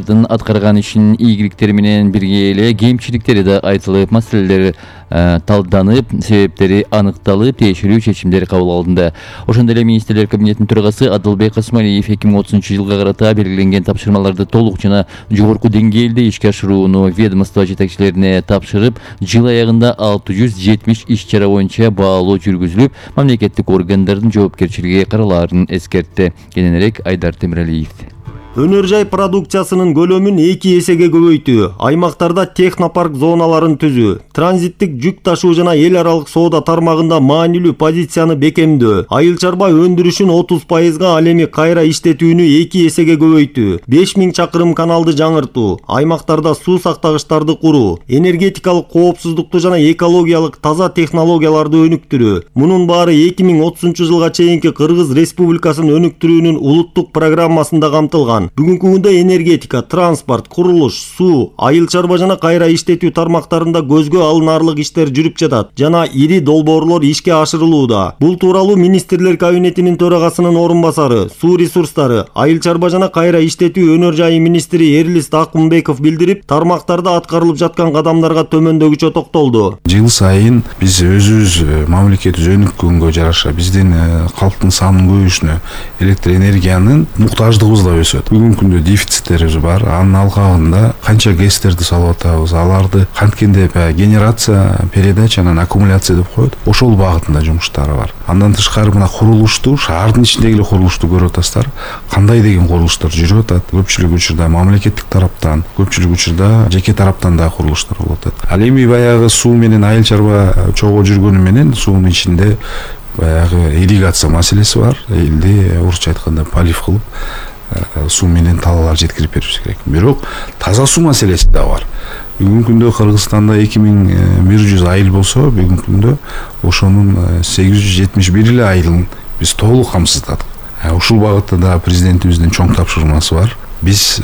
алардын аткарган ишинин ийгиликтери менен бирге эле кемчиликтери да айтылып, маселелер талданып, себептери аныкталып, тиешелүү чечимдер кабыл алынды. Ошондой эле министрлер кабинетинин төрагасы Адылбек Касымалиев 2030 жылга карата белгиленген тапшырмаларды толук жана жогорку деңгээлде ишке ашырууну ведомство жетекчилерине тапшырып, жыл аягында 670 иш-чара боюнча баалоо жүргүзүлүп, мамлекеттик органдардын жоопкерчилиги каралаарын эскертти. Кененирээк Айдар Темиралиев. Өнөр жай продукциясынын көлөмүн 2 эсеге көбөйтүү, аймактарда технопарк зоналарын түзүү, транзиттик жүк ташуу жана эл аралык соода тармагында маанилүү позицияны бекемдөө, айыл чарба өндүрүшүн 30%га, ал эми кайра иштетүүнү 2 эсеге көбөйтүү, 5000 чакырым каналды жаңыртуу, аймактарда суу сактагычтарды куруу, энергетикалык коопсуздукту жана экологиялык таза технологияларды өнүктүрүү. Мунун баары 2030 жылга чейинки Кыргыз Республикасын өнүктүрүүнүн улуттук программасында камтылган. Бүгүнкү күндө энергетика, транспорт, курулуш, суу, айыл чарба жана кайра иштетүү тармактарында көзгө алынаарлык иштер жүрүп жатат жана ири долбоорлор ишке ашырылууда. Бул тууралуу министрлер кабинетинин төрагасынын орун басары, суу ресурстары, айыл чарба жана кайра иштетүү өнөр жайы министри Эрлис Акмбеков билдирип, тармактарда аткарылып жаткан кадамдарга төмөндөгүчө токтолду. Жыл сайын биз өзүбүз мамлекетибиз өнүккөнгө жараша биздин калктын санынын көбөйүшүнө электр энергиянын муктаждыгыбыз да өсөт. Бүгүнкү күндө дефициттерибиз бар. Анын алкагында канча ГЭСтерди салып атабыз, аларды канткенде генерация, передача анан аккумуляция деп коет. Ошол багытында жумуштары бар. Андан тышкары мына курулушту, шаардын ичиндеги эле курулушту көрүп атасыздар. Кандай деген курулуштар жүрүп атат? Көпчүлүк учурда мамлекеттик тараптан, көпчүлүк учурда жеке тараптан да курулуштар болуп атат. Ал эми баягы суу менен айыл чарба чогуу жүргөнү менен суунун ичинде баягы ирригация маселеси бар. Элди орусча айтканда полив кылып суу менен талаалар жеткирип беришибиз керек. Бирок таза суу маселеси да бар. Бүгүнкү күндө Кыргызстанда 2100 айыл болсо, бүгүнкү күндө ошонун 871 эле айылын биз толук камсыздадык. Ушул багытта да президентибиздин чоң тапшырмасы бар. Биз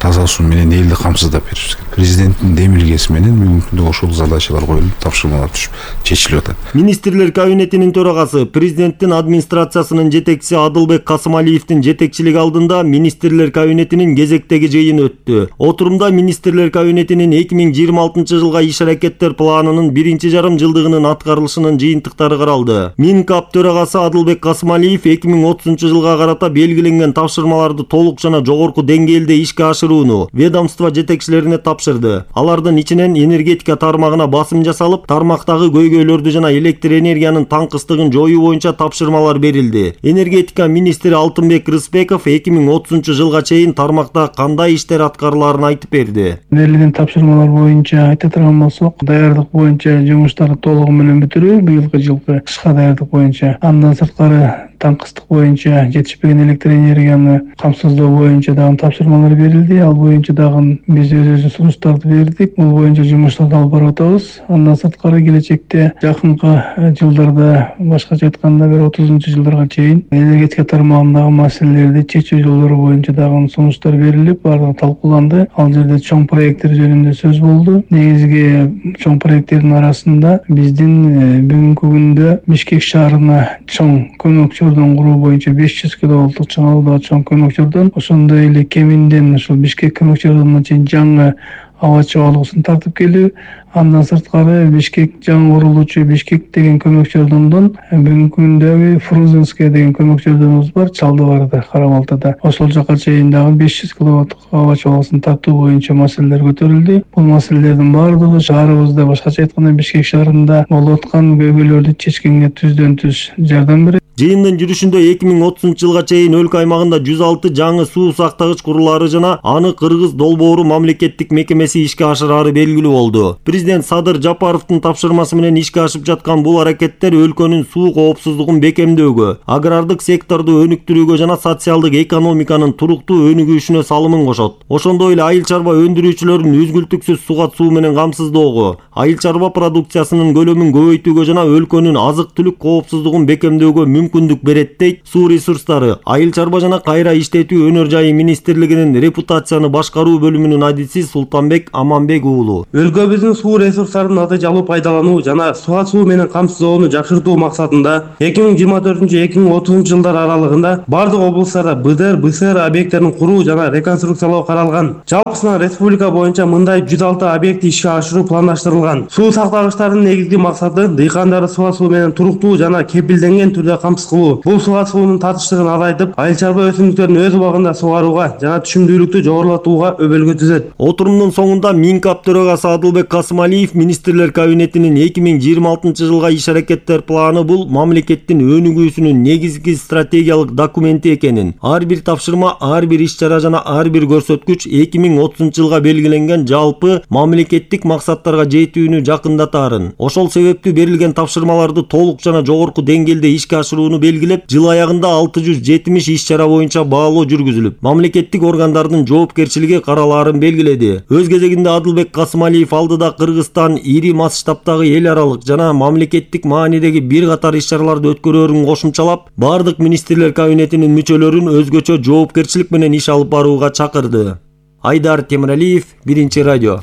таза суу менен элди камсыздап беришибиз керек. Президенттин демилгеси менен бүгүнкү күндө ошол задачалар коюлуп, тапшырмалар түшүп, чечилип атат. Министрлер кабинетинин төрагасы, президенттин администрациясынын жетекчиси Адылбек Касымалиевдин жетекчилиги алдында министрлер кабинетинин кезектеги жыйыны өттү. Отурумда министрлер кабинетинин 2026 жылга иш-аракеттер планынын 1,5 жылдыгынын аткарылышынын жыйынтыктары каралды. Минкап төрагасы Адылбек Касымалиев 2030 жылга карата белгиленген тапшырмаларды толук жана жогорку деңгээлде ишке ашырууну ведомство жетекчилерине тапшырды. Алардын ичинен энергетика тармагына басым жасалып, тармактагы көйгөйлөрдү жана электр энергиянын таңкыстыгын жоюу боюнча тапшырмалар берилди. Энергетика министри Алтынбек Рыспеков 2030 жылга чейин тармакта кандай иштер аткарылаарын айтып берди. Берилген тапшырмалар боюнча айта турган болсок, даярдык боюнча жумуштарды толугу менен бүтүрүү, быйылкы жылкы кышка даярдык боюнча, андан сырткары таңкыстык боюнча жетишпеген электр энергияны камсыздоо боюнча дагы тапшырмалар берилди. Ал боюнча дагы биз өзүбүздүн сунуштарды бердик. Бул боюнча жумуштарды алып барып атабыз. Андан сырткары келечекте жакынкы жылдарда, башкача айтканда 30 жылдарга чейин энергетика тармагындагы маселелерди чечүү жолдору боюнча дагы сунуштар берилип, баардыгы талкууланды. Ал жерде чоң проекттер жөнүндө сөз болду. Негизги чоң проекттердин арасында биздин бүгүнкү күндө Бишкек шаарына чоң көмөкчөрдөн куруу боюнча 500 киловолттук чыңалуудагы чоң көмөкчөрдөн, ошондой эле кеминден ушул Бишкек көмөкчөрдөн чейин жаңы аба чыгаалыгын тартып келүү. Андан сырткары Бишкек жаңы курулуучу Бишкек деген көмөкчөрдөн бүгүнкү күндө Фрузенская деген көмөкчөрдөнүбүз бар, Чалдыбарда, Карабалтада. Ошол жака чейин дагы 500 киловатттык аба чыгаалыгын тартуу боюнча маселелер көтөрүлдү. Бул маселелердин баардыгы шаарыбызда, башкача айтканда Бишкек шаарында болуп аткан көйгөйлөрдү чечкенге түздөн түз жардам берет. Жыйындын жүрүшүндө 2030 жылга чейин өлкө аймагында 106 жаңы суу сактагыч курулары жана аны Кыргыз долбоору мамлекеттик мекемеси ишке ашырары белгилүү болду. Президент Садыр Жапаровдун тапшырмасы менен ишке ашып жаткан бул аракеттер өлкөнүн суу коопсуздугун бекемдөөгө, агрардык секторду өнүктүрүүгө жана социалдык экономиканын туруктуу өнүгүшүнө салымын кошот. Ошондой эле айыл чарба өндүрүүчүлөрүн үзгүлтүксүз суга суу менен камсыздоого, айыл чарба продукциясынын көлөмүн көбөйтүүгө жана өлкөнүн азык-түлүк коопсуздугун бекемдөөгө мүмкүндүк берет дейт Суу ресурстары, айыл чарба жана кайра иштетүү өнөр жайы министрлигинин репутацияны башкаруу бөлүмүнүн адиси Султанбек Аманбек уулу. Өлкөбүздүн суу ресурстарын аты жалуу пайдалануу жана суга суу менен камсыздоону жакшыртуу максатында 2024-2030 жылдар аралыгында бардык облустарда БДР, БСР объекттерин куруу жана реконструкциялоо каралган. Жалпысынан республика боюнча мындай 106 объекти ишке ашыруу пландаштырылган. Суу сактагычтардын негизги максаты дыйкандарды суга суу менен туруктуу жана кепилденген түрдө камсыз кылуу. Бул суга суунун татыштыгын азайтып, айыл чарба өсүмдүктөрүн өз убагында сугарууга жана түшүмдүүлүктү жогорулатууга өбөлгө түзөт. Отурумдун соңунда Минкап төрагасы Адылбек Касымалиев министрлер кабинетинин 2026 жылга иш-аракеттер планы бул мамлекеттин өнүгүүсүнүн негизги стратегиялык документи экенин, ар бир тапшырма, ар бир иш-чара жана ар бир көрсөткүч 2030 жылга белгиленген жалпы мамлекеттик максаттарга жетүүнү жакындатаарын, ошол себептүү берилген тапшырмаларды толук жана жогорку деңгээлде ишке ашырууну белгилеп, жыл аягында 670 иш-чара боюнча баалоо жүргүзүлүп, мамлекеттик органдардын жоопкерчилиги каралаарын белгиледи. Өз кезегинде Адылбек Касымалиев алдыда Кыргызстан ири масштабтагы эл аралык жана мамлекеттик маанидеги бир катар иш-чараларды өткөрөөрүн кошумчалап, бардык министрлер кабинетинин мүчөлөрүн өзгөчө жоопкерчилик менен иш алып барууга чакырды. Айдар Темиралиев, Биринчи радио.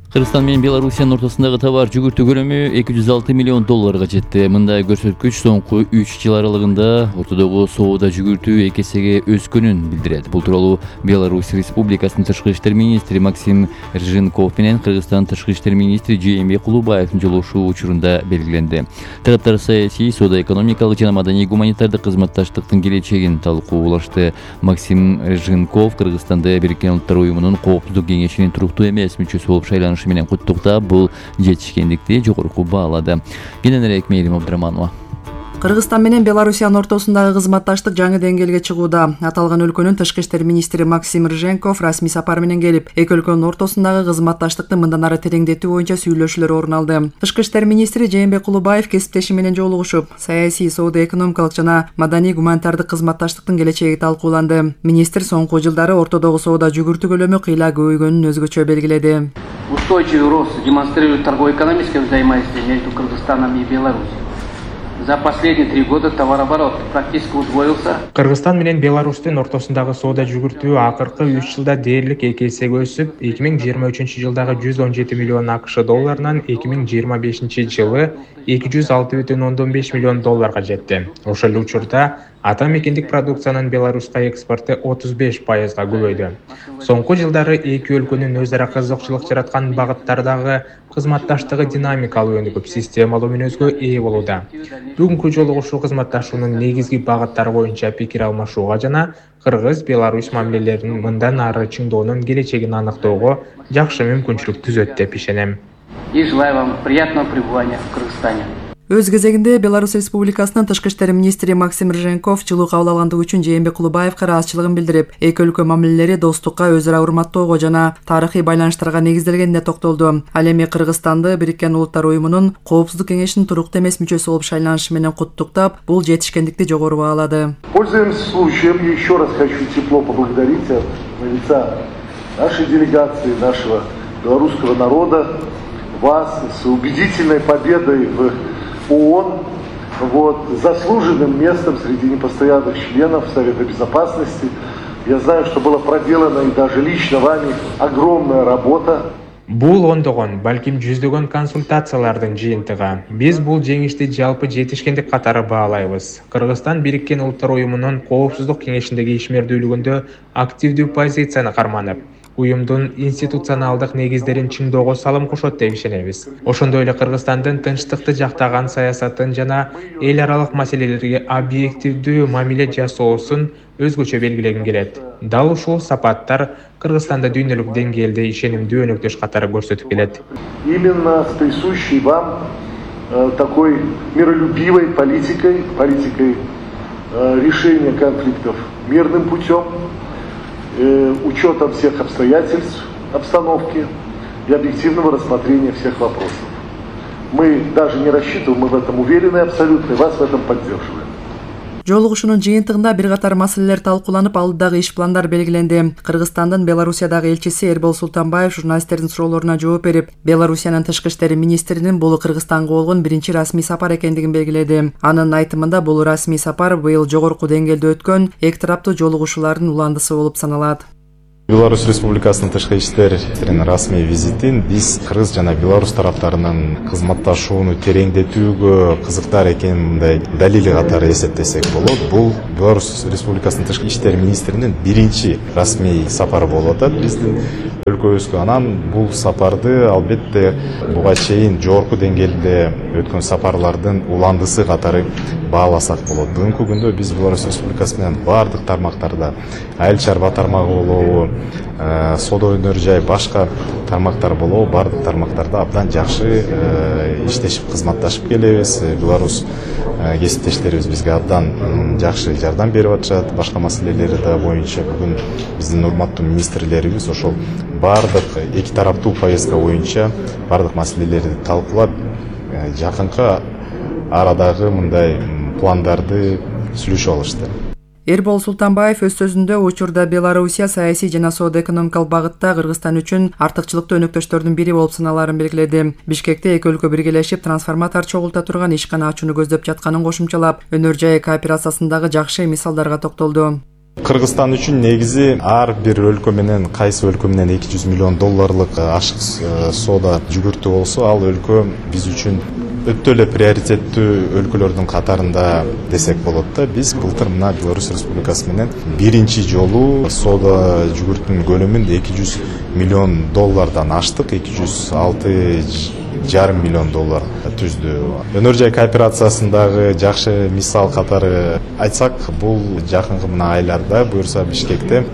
Кыргызстан менен Белоруссиянын ортосундагы товар жүгүртүү көлөмү 206 миллион долларга жетти. Мындай көрсөткүч соңку 3 жыл аралыгында ортодогу соода жүгүртүү 2 эсеге өскөнүн билдирет. Бул тууралуу Беларусь Республикасынын тышкы иштер министри Максим Рженков менен Кыргызстан тышкы иштер министри Жээнбек Кулубаевдин жолугушуу учурунда белгиленди. Тараптар саясий, соода экономикалык жана маданий гуманитардык кызматташтыктын келечегин талкуулашты. Максим Рженков Кыргызстанды Бириккен Улуттар уюмунун Коопсуздук кеңешинин туруктуу эмес мүчөсү болуп шайланышы менен куттуктап, бул жетишкендикти жогорку баалады. Кененирээк Мээрим Абдраманова. Кыргызстан менен Белоруссиянын ортосундагы кызматташтык жаңы деңгээлге чыгууда. Аталган өлкөнүн тышкы иштер министри Максим Рженков расмий сапар менен келип, эки өлкөнүн ортосундагы кызматташтыкты мындан ары тереңдетүү боюнча сүйлөшүүлөр орун алды. Тышкы иштер министри Жээнбек Кулубаев кесиптеши менен жолугушуп, саясий, соода экономикалык жана маданий гуманитардык кызматташтыктын келечеги талкууланды. Министр соңку жылдары ортодогу соода жүгүртүү көлөмү кыйла көбөйгөнүн өзгөчө белгиледи. Устойчивый рост демонстрирует торгово-экономическое взаимодействие между Кыргызстаном и Беларусью. За последние 3 года товарооборот практически удвоился. Кыргызстан менен Беларустун ортосундагы соода жүгүртүү акыркы 3 жылда дээрлик 2 эсеге өсүп, 2023 жылдагы 117 миллион АКШ долларынан 2025 жылы 206,5 миллион долларга жетти. Ошол эле учурда ата мекендик продукциянын Беларуска экспорту 35%га көбөйдү. Соңку жылдары эки өлкөнүн өз ара кызыкчылык жараткан багыттардагы кызматташтыгы динамикалуу өнүгүп, системалуу мүнөзгө ээ болууда. Бүгүнкү жолугушуу кызматташуунун негизги багыттары боюнча пикир алмашууга жана Кыргыз-Беларусь мамилелеринин мындан ары чыңдоонун келечегин аныктоого жакшы мүмкүнчүлүк түзөт деп ишенем. И желаю вам приятного пребывания в Кыргызстане. Өз кезегинде Беларусь Республикасынын тышкы иштер министри Максим Рженков жылуу кабыл алгандыгы үчүн Жээнбек Кулубаевга ыраазычылыгын билдирип, эки өлкө мамилелери достукка, өз ара урматтоого жана тарыхый байланыштарга негизделгенине токтолду. Ал эми Кыргызстанды Бириккен Улуттар уюмунун Коопсуздук кеңешинин туруктуу эмес мүчөсү болуп шайланышы менен куттуктап, бул жетишкендикти жогору баалады. Пользуясь случаем, еще раз хочу тепло поблагодарить от лица нашей делегации, нашего белорусского народа, вас с убедительной победой в ООН, заслуженным местом среди непостоянных членов Совета Безопасности. Я знаю, что была проделана и даже лично вами огромная работа. Бул ондогон, балким жүздөгөн консультациялардын жыйынтыгы. Биз бул жеңишти жалпы жетишкендик катары баалайбыз. Кыргызстан Бириккен Улуттар уюмунун Коопсуздук кеңешиндеги ишмердүүлүгүндө активдүү позицияны карманып, уюмдун институционалдык негиздерин чыңдоого салым кошот деп ишенебиз. Ошондой эле Кыргызстандын тынчтыкты жактаган саясатын жана эл аралык маселелерге объективдүү мамиле жасоосун өзгөчө белгилегим келет. Дал ушул сапаттар Кыргызстанда дүйнөлүк деңгээлде ишенимдүү өнөктөш катары көрсөтүп келет. Именно с присущей вам такой миролюбивой политикой решения конфликтов мирным путем, учетом всех обстоятельств, обстановки и объективного рассмотрения всех вопросов. Мы даже не рассчитываем, мы в этом уверены абсолютно, и вас в этом поддерживаем. Жолугушуунун жыйынтыгында бир катар маселелер талкууланып, алдыдагы иш пландар белгиленди. Кыргызстандын Белоруссиядагы элчиси Эрбол Султанбаев журналисттердин суроолоруна жооп берип, Белоруссиянын тышкы иштер министринин бул Кыргызстанга болгон биринчи расмий сапар экендигин белгиледи. Анын айтымында бул расмий сапар быйыл жогорку деңгээлде өткөн эки тараптуу жолугушуулардын уландысы болуп саналат. Беларусь Республикасынын тышкы иштерин расмий визитин биз Кыргыз жана Беларусь тараптарынын кызматташууну тереңдетүүгө кызыктар экенин мындай далили катары эсептесек болот. Бул Беларусь Республикасынын тышкы иштер министринин биринчи расмий сапары болуп атат биздин өлкөбүзгө. Анан бул сапарды албетте буга чейин жогорку деңгээлде өткөн сапарлардын уландысы катары бааласак болот. Бүгүнкү күндө биз Беларусь Республикасы менен бардык тармактарда айыл чарба тармагы болобу, соода өнөр жай башка тармактар болобу, бардык тармактарда абдан жакшы иштешип кызматташып келебиз. Беларусь кесиптештерибиз бизге абдан жакшы жардам берип атышат. Башка маселелери да боюнча бүгүн биздин урматтуу министрлерибиз ошол бардык эки тараптуу повестка боюнча бардык маселелерди талкуулап, жакынкы арадагы мындай пландарды сүйлөшүп алышты. Эрбол Султанбаев өз сөзүндө учурда Белоруссия саясий жана соода экономикалык багытта Кыргызстан үчүн артыкчылыктуу өнөктөштөрдүн бири болуп саналарын белгиледи. Бишкекте эки өлкө биргелешип трансформатор чогулта турган ишкана ачууну көздөп жатканын кошумчалап, өнөр жай кооперациясындагы жакшы мисалдарга токтолду. Кыргызстан үчүн негизи ар бир өлкө менен кайсы өлкө менен 200 миллион долларлык ашык соода жүгүртүү болсо, ал өлкө биз үчүн өтө эле приоритеттүү өлкөлөрдүн катарында десек болот да. Биз былтыр мына Беларусь Республикасы менен биринчи жолу соода жүгүртүүнүн көлөмүн 200 миллион доллардан аштык, 206,5 миллион доллар түздү. Өнөр жай кооперациясындагы жакшы мисал катары айтсак, бул жакынкы мына айларда буюрса Бишкекте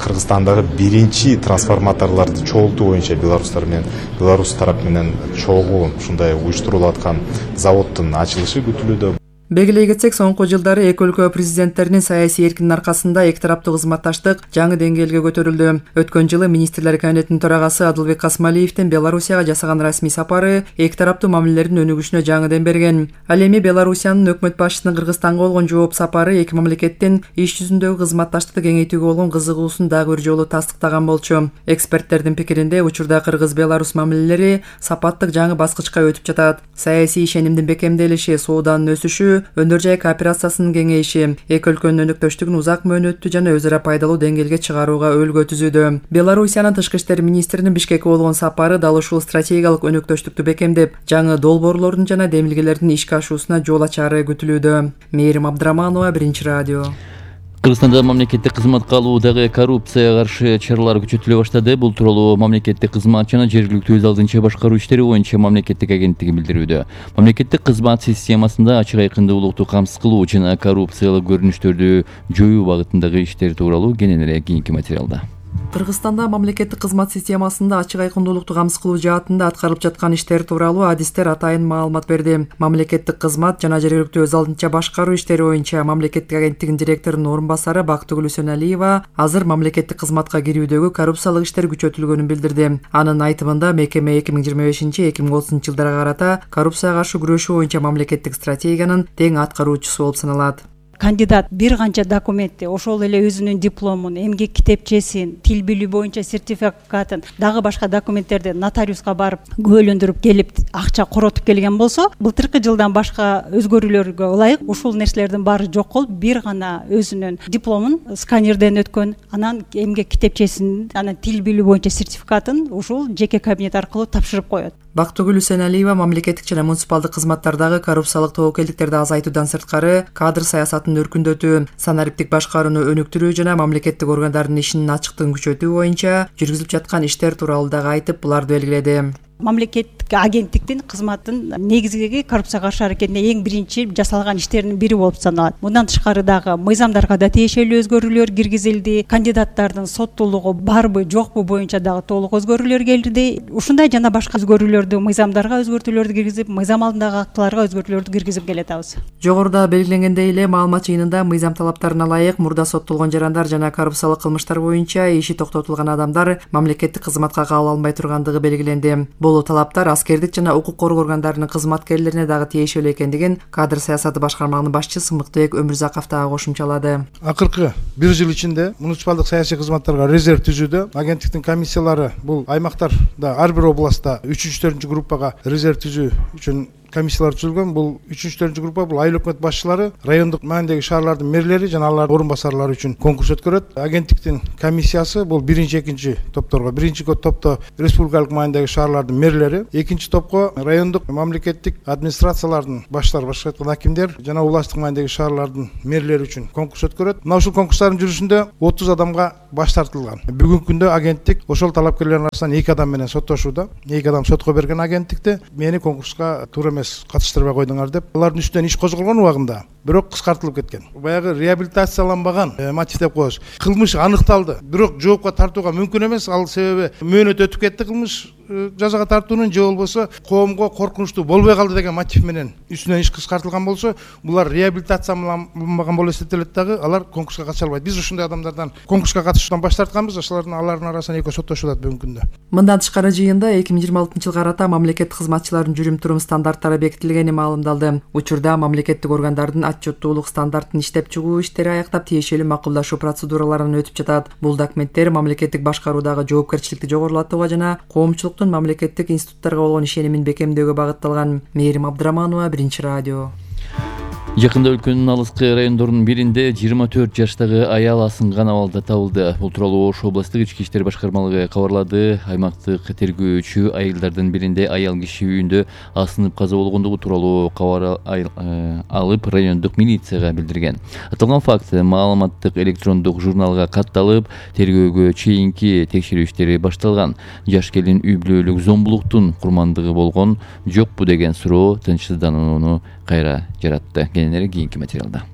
Кыргызстандагы биринчи трансформаторлорду чогултуу боюнча Беларусь тарап менен чогуу ушундай уюштурулуп аткан заводдун ачылышы күтүлүүдө. Белгилей кетсек, соңку жылдары эки өлкө президенттеринин саясий эркинин аркасында эки тараптуу кызматташтык жаңы деңгээлге көтөрүлдү. Өткөн жылы министрлер кабинетинин төрагасы Адылбек Касмалиевдин Белоруссияга жасаган расмий сапары эки тараптуу мамилелердин өнүгүшүнө жаңы дем берген. Ал эми Белоруссиянын өкмөт башчысынын Кыргызстанга болгон жооп сапары эки мамлекеттин иш жүзүндөгү кызматташтыкты кеңейтүүгө болгон кызыгуусун дагы бир жолу тастыктаган болчу. Эксперттердин пикиринде, учурда Кыргыз-Беларусь мамилелери сапаттык жаңы баскычка өтүп жатат. Саясий ишенимдин бекемделиши, сооданын өсүшү, өнөр жай кооперациясынын кеңейиши эки өлкөнүн өнөктөштүгүн узак мөөнөттүү жана өз ара пайдалуу деңгээлге чыгарууга өлгө түзүүдө. Белоруссиянын тышкы иштер министринин Бишкекке болгон сапары дал ушул стратегиялык өнөктөштүктү бекемдеп, жаңы долбоорлордун жана демилгелердин ишке ашуусуна жол ачары күтүлүүдө. Мээрим Абдраманова, Биринчи радио. Кыргызстанда мамлекеттик кызматка алуудагы коррупцияга каршы чаралар күчөтүлө баштады. Бул тууралуу мамлекеттик кызмат жана жергиликтүү өз алдынча башкаруу иштери боюнча мамлекеттик агенттиги билдирүүдө. Мамлекеттик кызмат системасында ачык айкындуулукту камсыз кылуу жана коррупциялык көрүнүштөрдү жоюу багытындагы иштер тууралуу кененирээк кийинки материалда. Кыргызстанда мамлекеттик кызмат системасында ачык айкындуулукту камсыз кылуу жаатында аткарылып жаткан иштер тууралуу адистер атайын маалымат берди. Мамлекеттик кызмат жана жергиликтүү өз алдынча башкаруу иштери боюнча мамлекеттик агенттигинин директорунун орун басары Бактыгүл Үсөналиева азыр мамлекеттик кызматка кирүүдөгү коррупциялык иштер күчөтүлгөнүн билдирди. Анын айтымында мекеме 2025-2030 жылдарга карата коррупцияга каршы күрөшүү боюнча мамлекеттик стратегиянын тең аткаруучусу болуп саналат. Кандидат бир канча документти, ошол эле өзүнүн дипломун, эмгек китепчесин, тил билүү боюнча сертификатын, дагы башка документтерди нотариуска барып күбөлөндүрүп келип, акча коротуп келген болсо, былтыркы жылдан башка өзгөрүүлөргө ылайык ушул нерселердин баары жок болуп, бир гана өзүнүн дипломун сканерден өткөн, анан эмгек китепчесин, анан тил билүү боюнча сертификатын ушул жеке кабинет аркылуу тапшырып коет. Бактыгүл Үсөналиева мамлекеттик жана муниципалдык кызматтардагы коррупциялык тобокелдиктерди азайтуудан сырткары кадр саясатын өркүндөтүү, санариптик башкарууну өнүктүрүү жана мамлекеттик органдардын ишинин ачыктыгын күчөтүү боюнча жүргүзүлүп жаткан иштер тууралуу дагы айтып, буларды белгиледи. Мамлекеттик агенттиктин кызматтын негизги коррупцияга каршы аракетине эң биринчи жасалган иштердин бири болуп саналат. Мындан тышкары дагы мыйзамдарга да тиешелүү өзгөрүүлөр киргизилди. Кандидаттардын соттуулугу барбы, жокпу боюнча дагы толук өзгөрүүлөр келди. Ушундай жана башка өзгөрүүлөрдү, мыйзамдарга өзгөртүүлөрдү киргизип, мыйзам алдындагы актыларга өзгөртүүлөрдү киргизип келатабыз. Жогоруда белгиленгендей эле маалымат жыйынында мыйзам талаптарына ылайык мурда соттолгон жарандар жана коррупциялык кылмыштар боюнча иши токтотулган адамдар мамлекеттик кызматка кабыл алынбай тургандыгы белгиленди. Бул талаптар аскердик жана укук коргоо органдарынын кызматкерлерине дагы тиешелүү экендигин кадр саясаты башкармагынын башчысы Сымыктыбек Өмүрзаков дагы кошумчалады. Акыркы 1 жыл ичинде муниципалдык саясий кызматтарга резерв түзүүдө агенттиктин комиссиялары бул аймактарда ар бир областта 3-4 группага резерв түзүү үчүн комиссиялар түзүлгөн. Бул 3-4 группа бул айыл өкмөт башчылары, райондук маанидеги шаарлардын мэрлери жана алардын орун басарлары үчүн конкурс өткөрөт. Агенттиктин комиссиясы бул 1-2 топторго, 1 топто республикалык маанидеги шаарлардын мэрлери, 2 топко райондук мамлекеттик администрациялардын баштары, башка айтканда акимдер жана областтык маанидеги шаарлардын мэрлери үчүн конкурс өткөрөт. Мына ушул конкурстардын жүрүшүндө 30 адамга баш тартылган. Бүгүнкү күндө агенттик ошол талапкерлердин арасынан 2 адам менен соттошууда. 2 адам сотко берген агенттикте мени конкурска туура эмес катыштырбай койдуңар деп алардын үстүнөн иш козголгон убагында бирок кыскартылып кеткен. Баягы реабилитацияланбаган мотив деп коебуз. Кылмыш аныкталды, бирок жоопко тартууга мүмкүн эмес. Ал себеби мөөнөт өтүп кетти кылмыш жазага тартуунун, же болбосо коомго коркунучтуу болбой калды деген мотив менен үстүнөн иш кыскартылган болсо, булар реабилитацияланбаган болуп эсептелет дагы, алар конкурска катыша албайт. Биз ушундай адамдардан конкурска катышуудан баш тартканбыз, алардын арасынан экөө соттошулат бүгүнкү күндө. Мындан тышкары жыйында 2026 жылга карата мамлекеттик кызматчылардын жүрүм-турум стандарттары бекитилгени маалымдалды. Учурда мамлекеттик органдардын отчеттуулук стандартын иштеп чыгуу иштери аяктап тиешелүү макулдашуу процедураларынан өтүп жатат. Бул документтер мамлекеттик башкаруудагы жоопкерчиликти жогорулатууга жана коомчулуктун мамлекеттик институттарга болгон ишенимин бекемдөөгө багытталган. Мээрим Абдыраманова, Биринчи радио. Жакында өлкөнүн алыскы райондорунун биринде 24 жаштагы аял асынган абалда табылды. Бул тууралуу Ош областтык ички иштер башкармалыгы кабарлады. Аймактык тергөөчү айылдардын биринде аял киши үйүндө асынып каза болгондугу тууралуу кабар алып райондук милицияга билдирген. Аталган факт маалыматтык электрондук журналга катталып, тергөөгө чейинки текшерүү иштери башталган. Жаш келин үй бүлөлүк зомбулуктун курмандыгы болгон жокпу деген суроо тынчсызданууну кайра жаратты. Кененери кийинки материалда.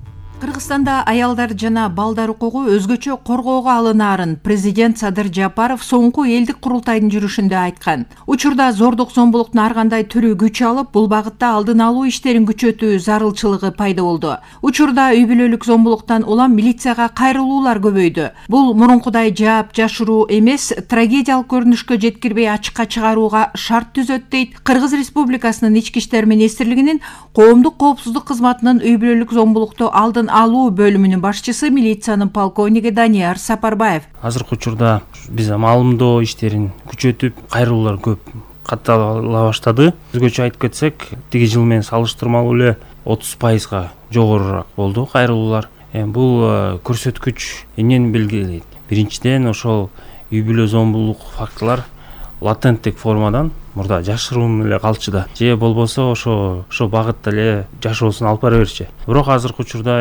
Кыргызстанда аялдар жана балдар укугу өзгөчө коргоого алынаарын президент Садыр Жапаров соңку элдик курултайдын жүрүшүндө айткан. Учурда зордук зомбулуктун ар кандай түрү күч алып, бул багытта алдын алуу иштерин күчөтүү зарылчылыгы пайда болду. Учурда үй бүлөлүк зомбулуктан улам милицияга кайрылуулар көбөйдү. Бул мурункудай жаап жашыруу эмес, трагедиялык көрүнүшкө жеткирбей ачыкка чыгарууга шарт түзөт дейт Кыргыз Республикасынын Ички иштер министрлигинин коомдук коопсуздук кызматынын үй бүлөлүк зомбулукту алдын алуу бөлүмүнүн башчысы милициянын полковниги Данияр Сапарбаев. Азыркы учурда биз маалымдоо иштерин күчөтүп, кайрылуулар көп каттала баштады. Өзгөчө айтып кетсек, тиги жыл менен салыштырмалуу эле 30% жогорураак болду кайрылуулар. Бул көрсөткүч эмнени белгилейт? Биринчиден, ошол үй бүлө зомбулук фактылар латенттик формадан мурда жашыруун эле калчу да, же болбосо ошо багытта эле жашоосун алып бара берчи. Бирок азыркы учурда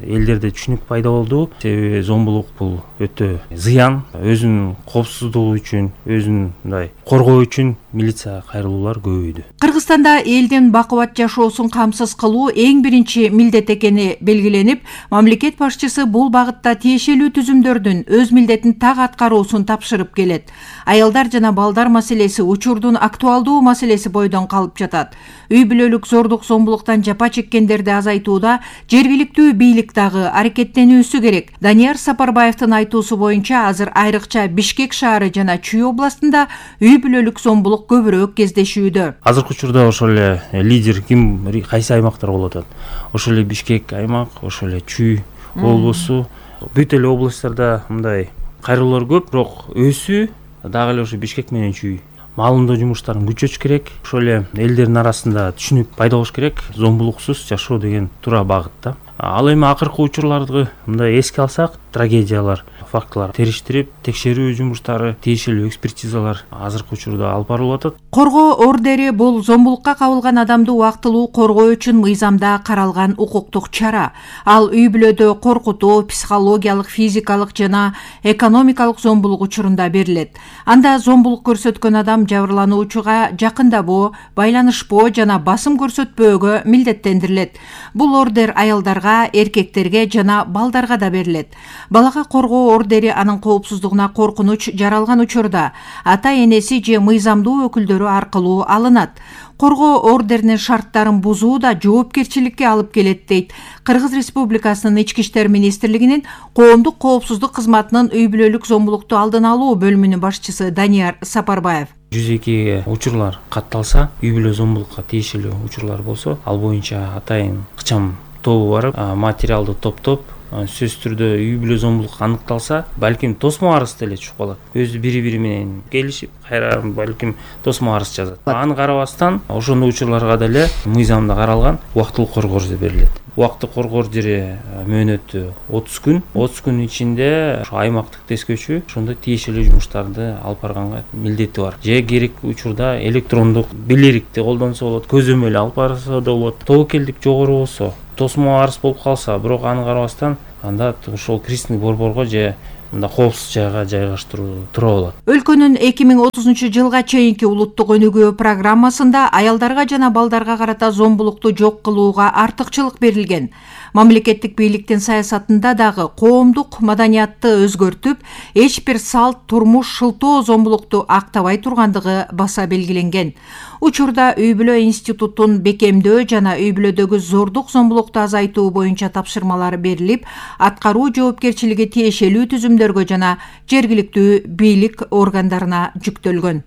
элдерде түшүнүк пайда болду. Себеби зомбулук бул өтө зыян, өзүнүн коопсуздугу үчүн, өзүн мындай коргоо үчүн милиция кайрылуулар көбөйдү. Кыргызстанда элдин бакубат жашоосун камсыз кылуу эң биринчи милдет экени белгиленип, мамлекет башчысы бул багытта тиешелүү түзүмдөрдүн өз милдетин так аткаруусун тапшырып келет. Аялдар жана балдар маселеси учурдун актуалдуу маселеси бойдон калып жатат. Үй бүлөлүк зордук зомбулуктан жапа чеккендерди азайтууда жергиликтүү бийлик дагы аракеттенүүсү керек. Данияр Сапарбаевдин айтуусу боюнча, азыр айрыкча Бишкек шаары жана Чүй областында үй бүлөлүк зомбулук көбүрөөк кездешүүдө. Азыркы учурда ошол эле лидер ким, кайсы аймактар болуп атат? Ошол эле Бишкек аймак, ошол эле Чүй облусу, бүт эле областтарда мындай кайрылуулар көп, бирок өсүү дагы эле ошо Бишкек менен Чүй. Маалымдоо жумуштарын күчөтүш керек. Ошол эле элдердин арасында түшүнүк пайда болуш керек. Зомбулуксуз жашоо деген туура багытта. Ал эми акыркы учурларды мындай эске алсак, трагедиялар, фактылар териштирип, текшерүү жумуштары, тиешелүү экспертизалар азыркы учурда алып барылып атат. Коргоо ордери бул зомбулукка кабылган адамды убактылуу коргоо үчүн мыйзамда каралган укуктук чара. Ал үй бүлөдө коркутуу, психологиялык, физикалык жана экономикалык зомбулук учурунда берилет. Анда зомбулук көрсөткөн адам жабырлануучуга жакындабоо, байланышпоо жана басым көрсөтпөөгө милдеттендирилет. Бул ордер аялдарга, эркектерге жана балдарга да берилет. Балага коргоо ордери анын коопсуздугуна коркунуч жаралган учурда ата-энеси же мыйзамдуу өкүлдөрү аркылуу алынат. Коргоо ордеринин шарттарын бузуу да жоопкерчиликке алып келет дейт Кыргыз Республикасынын Ички иштер министрлигинин коомдук коопсуздук кызматынын үй бүлөлүк зомбулукту алдын алуу бөлүмүнүн башчысы Данияр Сапарбаев. 102 учурлар катталса, үй бүлө зомбулукка тиешелүү учурлар болсо, ал боюнча атайын кычам тобу барып, материалды топтоп, сөзсүз түрдө үй бүлө зомбулук аныкталса, балким тосмо арыз деле чыгып калат. Өзү бири-бири менен келишип, кайра балким тосмо арыз жазат. Аны карабастан, ошондой учурларга деле мыйзамда каралган убактылык коргоо жери берилет. Убактылык коргоо жери мөөнөтү 30 күн. 30 күн ичинде аймактык тескөөчү ошондой тиешелүү жумуштарды алып барганга милдети бар. Же керек учурда электрондук билерикти колдонсо болот, көзөмөл алып барса да болот. Тобокелдик жогору болсо, тосмо арыз болуп калса, бирок аны карабастан, анда ошол кристиндик борборго же мында коопсуз жайга жайгаштыруу тура болот. Өлкөнүн 2030 жылга чейинки улуттук өнүгүү программасында аялдарга жана балдарга карата зомбулукту жок кылууга артыкчылык берилген. Мамлекеттик бийликтин саясатында дагы коомдук маданиятты өзгөртүп, эч бир салт, турмуш шылтоо зомбулукту актабай тургандыгы баса белгиленген. Учурда үй бүлө институтун бекемдөө жана үй бүлөдөгү зордук зомбулукту азайтуу боюнча тапшырмалар берилип, аткаруу жоопкерчилиги тиешелүү түзүмдөргө жана жергиликтүү бийлик органдарына жүктөлгөн.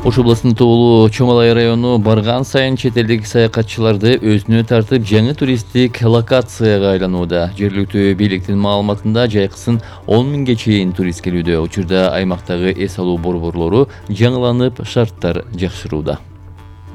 Ош областынын Тоолу Чоң-Алай району барган сайын чет элдик саякатчыларды өзүнө тартып, жаңы туристтик локацияга айланууда. Жергиликтүү бийликтин маалыматында жайкысын 10 миңге чейин турист келүүдө. Учурда аймактагы эс алуу борборлору жаңыланып, шарттар жакшырууда.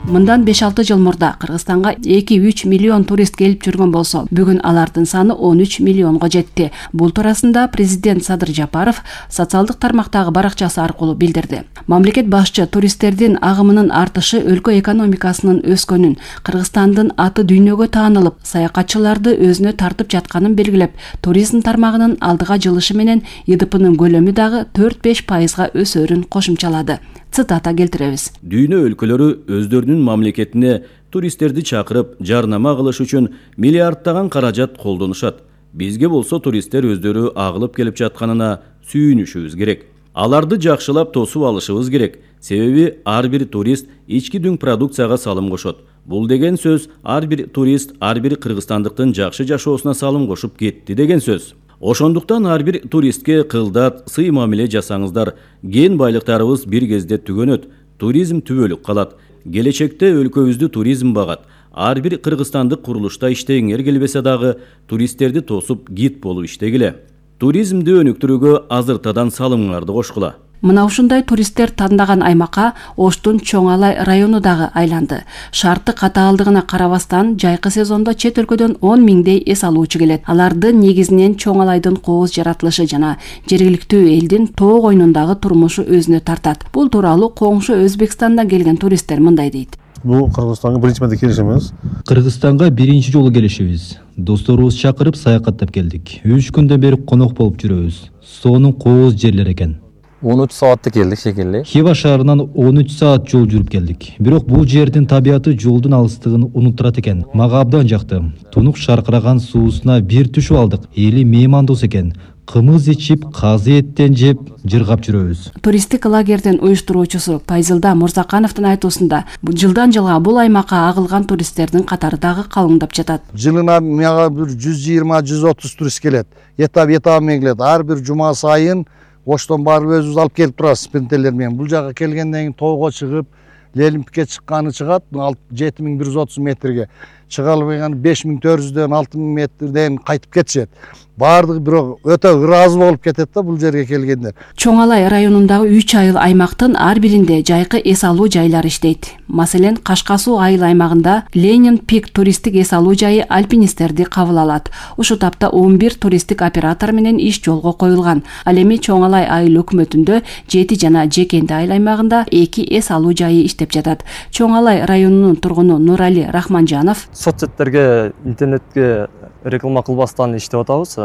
Мындан 5-6 жыл мурда Кыргызстанга 2-3 миллион турист келип жүргөн болсо, бүгүн алардын саны 13 миллионго жетти. Бул туурасында президент Садыр Жапаров социалдык тармактагы баракчасы аркылуу билдирди. Мамлекет башчы туристтердин агымынын артышы өлкө экономикасынын өскөнүн, Кыргызстандын аты дүйнөгө таанылып, саякатчыларды өзүнө тартып жатканын белгилеп, туризм тармагынын алдыга жылышы менен ИДПнын көлөмү дагы 4-5% өсөрүн кошумчалады. Цитата келтиребиз. Дүйнө өлкөлөрү өздөрүнүн мамлекетине туристтерди чакырып, жарнама кылыш үчүн миллиардтаган каражат колдонушат. Бизге болсо туристтер өздөрү агылып келип жатканына сүйүнүшүбүз керек. Аларды жакшылап тосуп алышыбыз керек. Себеби ар бир турист ички дүң продукцияга салым кошот. Бул деген сөз ар бир турист ар бир кыргызстандыктын жакшы жашоосуна салым кошуп кетти деген сөз. Ошондуктан ар бир туристке кылдат, сый мамиле жасаңыздар. Кен байлыктарыбыз бир кезде түгөнөт. Туризм түбөлүк калат. Келечекте өлкөбүздү туризм багат. Ар бир кыргызстандык курулушта иштегиңер келбесе дагы туристтерди тосуп гид болуп иштегиле. Туризмди өнүктүрүүгө азыртадан салымыңарды кошкула. Мына ушундай туристтер тандаган аймакка Оштун Чоң-Алай району дагы айланды. Шарты катаалдыгына карабастан, жайкы сезондо чет өлкөдөн 10 миңдей эс алуучу келет. Алардын негизинен Чоң-Алайдын кооз жаратылышы жана жергиликтүү элдин тоо койнундагы турмушу өзүнө тартат. Бул тууралуу коңшу Өзбекстандан келген туристтер мындай дейт. Бул Кыргызстанга биринчи марта келишimiz. Кыргызстанга биринчи жолу келишибиз. Досторубуз чакырып саякаттап келдик. 3 күндөн бери конок болуп жүрөбүз. Сонун кооз жерлер экен. 13 saatda келдик шекелли. Хива шаарынан 13 саат жол жүрүп келдик. Бирок бул жердин табияты жолдун алыстыгын унуттурат экен. Мага абдан жакты. Тунук шаркыраган суусуна бир түшүп алдык. Эли меймандос экен. Кымыз ичип, казы эттен жеп, жыргап жүрөбүз. Туристтик лагердин уюштуруучусу Пайзылда Мурзакановдун айтуусунда, жылдан жылга бул аймакка агылган туристтердин катары дагы калыңдап жатат. Жылына мага бир 120-130 турист келет. Этап менен келет. Ар бир жума сайын Оштон барып өзүбүз алып келип турабыз спинтерлер менен. Бул жака келгенден кийин тоого чыгып, Лелимпикке чыкканы чыгат 7130 метрге. Чыга албаган 5400дөн 6000 метрден кайтып кетишет. Бардыгы бирок өтө ыраазы болуп кетет да бул жерге келгендер. Чоң-Алай районундагы 3 айыл аймактын ар биринде жайкы эс алуу жайлары иштейт. Маселен, Кашка суу айыл аймагында Ленин Пик туристтик эс алуу жайы альпинисттерди кабыл алат. Ушул тапта 11 туристтик оператор менен иш жолго коюлган. Ал эми Чоң-Алай айыл өкмөтүндө 7 жана Жекенди айыл аймагында 2 эс алуу жайы иштеп жатат. Чоң-Алай районунун тургуну Нурали Рахманжанов: Соцсеттерге, интернетке реклама кылбастан иштеп атабыз.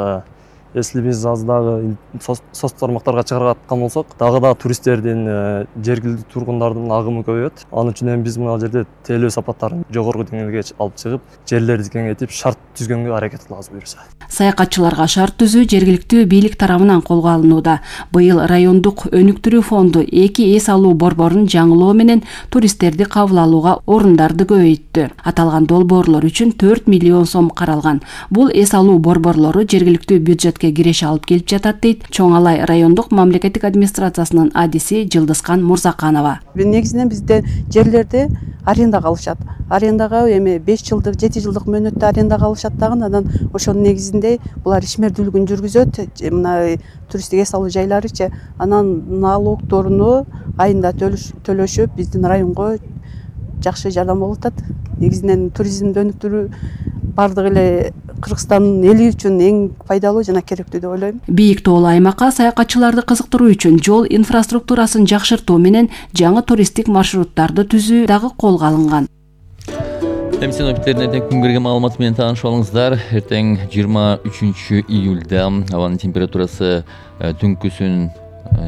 Если биз аз дагы соц тармактарга чыгаргаткан болсок, дагы да туристтердин, жергиликтүү тургундардын агымы көбөйөт. Анын үчүн эми биз мына жерде тейлөө сапаттарын жогорку деңгээлге алып чыгып, жерлерди кеңейтип, шарт түзгөнгө аракет кылабыз буюрса. Саякатчыларга шарт түзүү жергиликтүү бийлик тарабынан колго алынууда. Быйыл райондук өнүктүрүү фонду 2 эс алуу борборун жаңылоо менен туристтерди кабыл алууга орундарды көбөйттү. Аталган долбоорлор үчүн 4 миллион сом каралган. Бул эс алуу борборлору жергиликтүү бюджетке бюджетке киреше алып келип жатат дейт Чоң Алай райондук мамлекеттик администрациясынын адиси Жылдызкан Мурзаканова. Негизинен бизде жерлерди арендага алышат. Арендага эми 5 жылдык, 7 жылдык мөөнөттө арендага алышат дагы, анан ошонун негизинде булар ишмердүүлүгүн жүргүзөт. Мына туристтик эс алуу жайларычы, анан налогторуну айында төлөшүп, биздин районго жакшы жардам болуп атат. Негизинен туризмди өнүктүрүү бардык эле Кыргызстандын эли үчүн эң пайдалуу жана керектүү деп ойлойм. Бийик тоолуу аймакка саякатчыларды кызыктыруу үчүн жол инфраструктурасын жакшыртуу менен жаңы туристтик маршруттарды түзүү дагы колго алынган. Синоптиктердин эртең күнгөргө маалыматы менен таанышып алыңыздар. Эртең 23 июлда абанын температурасы түнкүсүн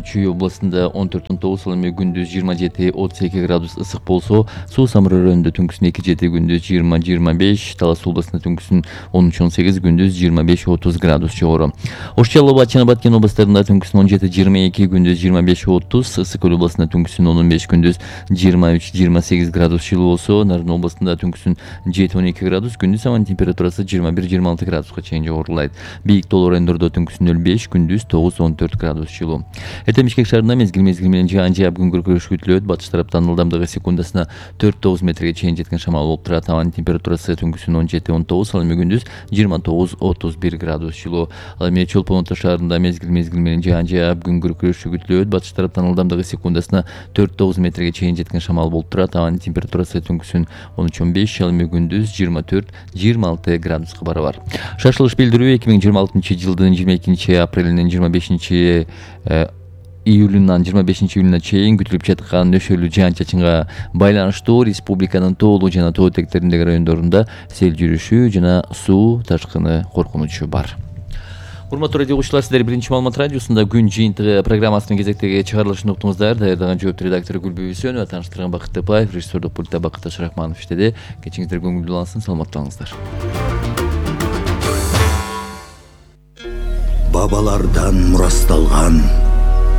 Чүй областында 14-19, ал эми күндүз 27-32 градус ысык болсо, Суу Самыр районунда түнкүсүн 2-7, күндүз 20-25, Талас областында түнкүсүн 13-18, күндүз 25-30 градус жогору. Ош Чаллы, Батчана, Баткен областарында түнкүсүн 17-22, күндүз 25-30, Ысык Көл областында түнкүсүн 15, күндүз 23-28 градус жылуу болсо, Нарын областында түнкүсүн 7-12 градус, күндүз абанын температурасы 21-26 градуска чейин жогорулайт. Бийик тоолуу райондордо түнкүсүн 05, күндүз 9-14 градус жылуу. Эртең Бишкек шаарында мезгил менен жаан-жаап күн күркүрөш күтүлөт. Батыш тараптан ылдамдыгы секундасына 4-9 метрге чейин жеткен шамал болуп турат. Абанын температурасы түнкүсүн 17-19, ал эми күндүз 29-31 градус жылуу. Ал эми Чолпон Ата шаарында мезгил менен жаан-жаап күн күркүрөш күтүлөт. Батыш тараптан ылдамдыгы секундасына 4-9 метрге чейин жеткен шамал болуп турат. Абанын температурасы түнкүсүн 13-15, ал эми күндүз 24-26 градуска барабар. Шашылыш билдирүү 2026-жылдын 22 апрелинен 25 июлунан 25 июлуна чейин күтүлүп жаткан нөшөлүү жаан-чачынга байланыштуу республиканын тоолуу жана тоо этектериндеги райондорунда сел жүрүшү жана суу ташкыны коркунучу бар. Урматтуу радио угуучулар, сиздер биринчи маалымат радиосунда күн жыйынтыгы программасынын кезектеги чыгарылышын уктуңуздар. Даярдаган жооптуу редактор Гүлбү Үсөнова, тааныштырган Бакыт Тапаев, режиссердук пультта Бакыт Ашрахманов иштеди. Кечиңиздер көңүлдүү улансын, саламаттуу болуңуздар. Бабалардан мурасталган,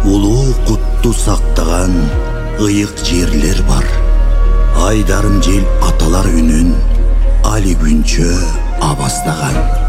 улуу кутту сактаган ыйык жерлер бар. Айдарым жел аталар үнүн али күнчө абастаган.